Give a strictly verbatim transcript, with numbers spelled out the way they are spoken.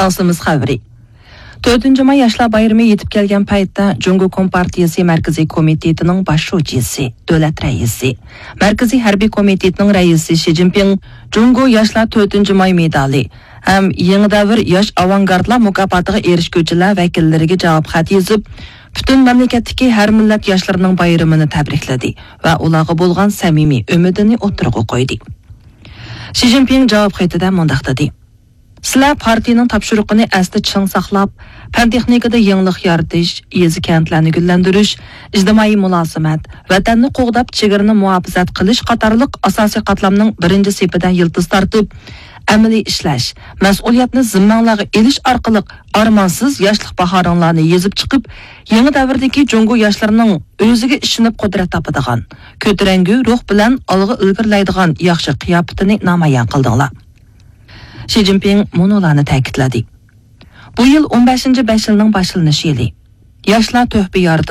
ئاستىمىز خەۋىرى. تۆتىنچى ماي ياشلار بايرىمى يېتىپ كەلگەن پەيتتە، جۇڭگو كومپارتىيىسى مەركىزىي كومىتېتىنىڭ باش شۇجىسى، دۆلەت رەئىسى، مەركىزىي ھەربىي كومىتېتىنىڭ رەئىسى شى جىنپىڭ جۇڭگو ياشلار تۆتىنچى ماي مېدالى ھەم يېڭى دەۋر ياش ئاۋانگارتلار مۇكاپاتىغا ئېرىشكۈچىلەر ۋەكىللىرىگە جاۋاب خەت يېزىپ، پۈتۈن مەملىكەتتىكى ھەر مىللەت ياشلىرىنىڭ بايرىمىنى تەبرىكلىدى ۋە ئۇلارغا بولغان سەمىمىي ئۈمىدىنى ئوتتۇرىغا قويدى. شى جىنپىڭ جاۋاب خېتىدە مۇنداق دېدى: سىلەر پارتىيىنىڭ تاپشۇرۇقىنى ئەستە چىڭ ساقلاپ، پەن-تېخنىكىدا يېڭىلىق يارىتىش، يېزا-كەنتلەرنى گۈللەندۈرۈش، ئىجتىمائىي مۇلازىمەت، ۋەتەننى قوغداپ، چېگرىنى مۇھاپىزەت قىلىش قاتارلىق ئاساسىي قاتلامنىڭ بىرىنچى سېپىدە يىلتىز تارتىپ، ئەمەلىي ئىشلەش، مەسئۇلىيەتنى زىممەڭلارغا ئېلىش ئارقىلىق ئارمانسىز ياشلىق باھارىڭلارنى يېزىپ چىقىپ، يېڭى دەۋردىكى جۇڭگو ياشلىرىنىڭ ئۆزىگە ئىشىنىپ قۇدرەت تاپىدىغان، كۆتۈرەڭگۈ روھ بىلەن ئالغا ئىلگىرىلەيدىغان ياخشى قىياپىتىنى نامايان قىلدىڭلار. شى جىنپىڭ مۇنۇلارنى تەكىتلىدى: بۇ يىل ئون بەشىنچى بەش يىلنىڭ باشلىنىش يىلى. ياشلار تۆھپە يارىتىدۇ.